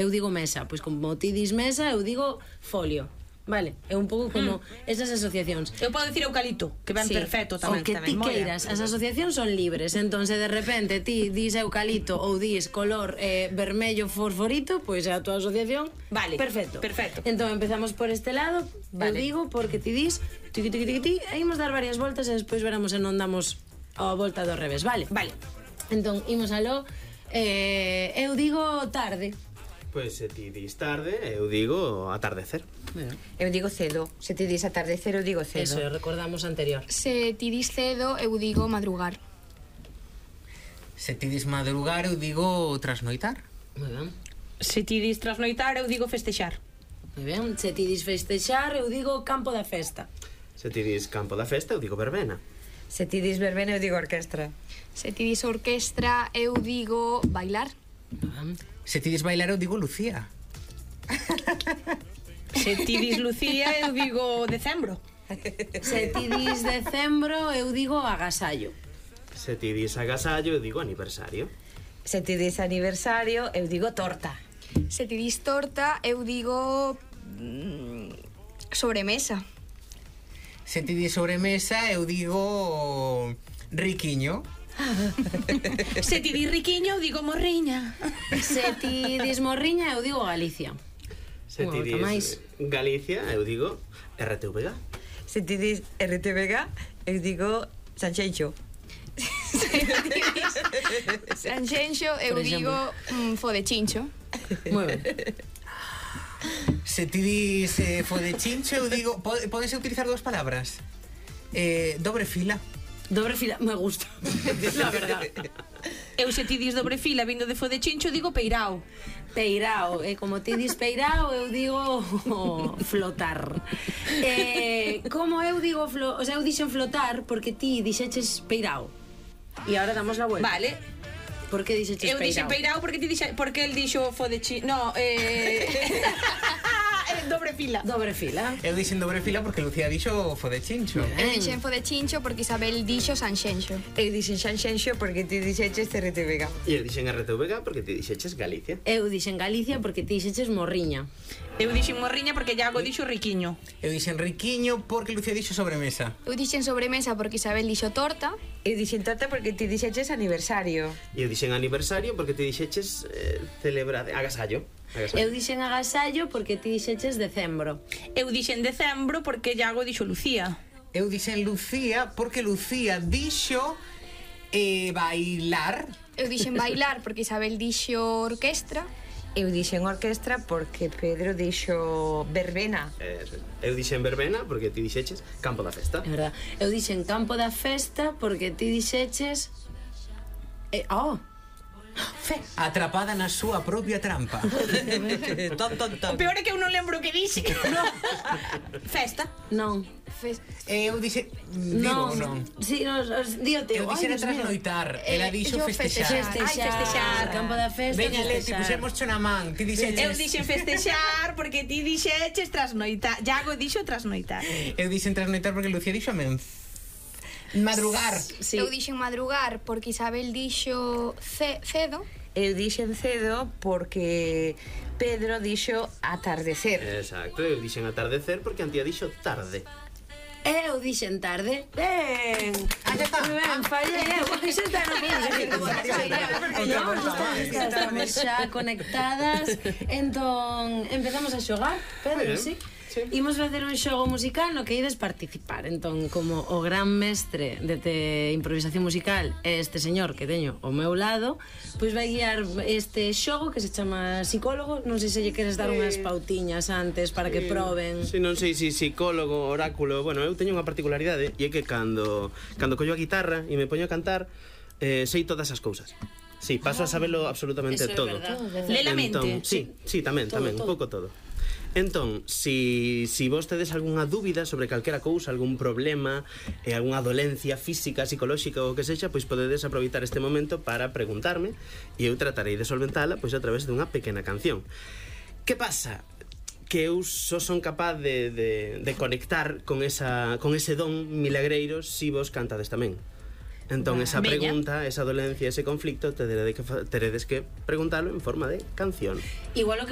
eu digo mesa, pois como ti dis mesa, eu digo folio. Vale, é un pouco como esas asociacións. Eu podo dicir eucalipto, que ven perfecto tamén. O que ti queiras, as asociacións son libres. Entón, se de repente ti dis eucalipto ou dis color vermello fosforito, pois é a tua asociación. Vale, perfecto. Entón, empezamos por este lado. Eu digo, porque ti dis tiqui, e imos dar varias voltas e despois veremos se non damos a volta do revés, vale? Vale. Entón, imos aló. Eu digo tarde. Pois se ti dis tarde, eu digo atardecer. Eu digo cedo. Se ti dis atardecer, eu digo cedo. Eso, recordamos anterior. Se ti dis cedo, eu digo madrugar. Se ti dis madrugar, eu digo trasnoitar. Moi ben. Se ti dis trasnoitar, eu digo festexar. Moi ben. Se ti dis festexar, eu digo campo da festa. Se ti dis campo da festa, eu digo verbena. Se ti dis verbena, eu digo orquestra. Se ti dis orquestra, eu digo bailar. Se ti dis bailar, eu digo Lucía. Se ti dis Lucía, eu digo decembro. Se ti dis decembro, eu digo agasallo. Se ti dis agasallo, eu digo aniversario. Se ti dis aniversario, eu digo torta. Se ti dis torta, eu digo sobremesa. Se ti dis sobremesa, eu digo riquiño. Se ti dis riquiño, eu digo morriña. Se ti dis morriña, eu digo Galicia. Se ti dis Galicia, eu digo RTVG. Se ti dis RTVG, eu digo Sanxenxo. Se ti dis Sanxenxo, eu digo Fodechincho. Moi ben. Se ti dis fodechincho, eu digo... Podes utilizar dúas palabras? Dobre fila. Dobre fila, me gusta. La verdad. Eu se ti dis dobre fila vindo de Fodechincho, digo peirao. Peirao, como ti dis peirao, eu digo flotar. Como eu digo o sea, eu dixen flotar porque ti dixeches peirao. E agora damos la vuelta. Vale. Por que dixeches peirao? Eu dixen peirao porque ti dixe, porque el dixo Fodechincho. No, dobre fila. Dobre fila. Eu dixen dobre fila porque Lucía dixo fodechincho. Eu dixen Fodechincho porque Isabel dixo Sanxenxo. Eu dixen Sanxenxo porque ti dixeches RTVG. E eu dixen RTVG porque ti dixeches Galicia. Eu dixen Galicia porque ti dixeches morriña. Eu dixen morriña porque Iago dixo riquiño. Eu dixen riquiño porque Lucía dixo sobremesa. Eu dixen sobremesa porque Isabel dixo torta. Eu dixen torta porque ti dixeches aniversario. E eu dixen aniversario porque ti dixeches celebrar agasallo. Eu dixen agasallo porque ti dixeches decembro. Eu dixen decembro porque Iago dixo Lucía. Eu dixen Lucía porque Lucía dixo bailar. Eu dixen bailar porque Isabel dixo orquestra. Eu dixen orquestra porque Pedro dixo verbena. Eu dixen verbena porque ti dixeches campo da festa. É verdad. Eu dixen campo da festa porque ti dixeches Atrapada na súa propia trampa. O peor é que eu non lembro o que dixe. Festa. Non. Eu dixe... Non. Sí, díote. Eu dixera trasnoitar. Ela dixo festexar. Festexar. Campo da festa. Veña, Leti, pusemos na man. Ti dixeches... Eu dixen festexar porque ti dixeches trasnoitar. Iago dixo trasnoitar. Eu dixen trasnoitar porque Lucía dixo madrugar. Sí. Eu dixen madrugar porque Isabel dixo cedo. Eu dixen cedo porque Pedro dixo atardecer. Exacto, eu dixen atardecer porque Antía dixo tarde. Eu dixen tarde. Ben. Ben, fallei. Estamos xa conectadas. Entón, empezamos a xogar, Pedro, sí? Sí. Imos facer un xogo musical no que ides participar. Entón, como o gran mestre de improvisación musical é este señor que teño ao meu lado, pois vai guiar este xogo que se chama psicólogo. Non sei se lle queres dar unhas pautiñas antes para que proben. Si, non sei se psicólogo, oráculo. Bueno, eu teño unha particularidade e é que cando collo a guitarra e me poño a cantar, sei todas as cousas. Sí, paso a sabelo absolutamente todo. Lé la mente. Sí, tamén, un pouco todo. Entón, si vos tedes algunha dúbida sobre calquera cousa, algún problema, algunha dolencia física, psicolóxica ou que sexa, pois podedes aproveitar este momento para preguntarme e eu tratarei de solventala pois a través dunha pequena canción. Que pasa? Que eu só son capaz de conectar con ese don milagreiro si vos cantades tamén. Entón, esa pregunta, esa dolencia, ese conflicto, teredes que preguntalo en forma de canción. Igual o que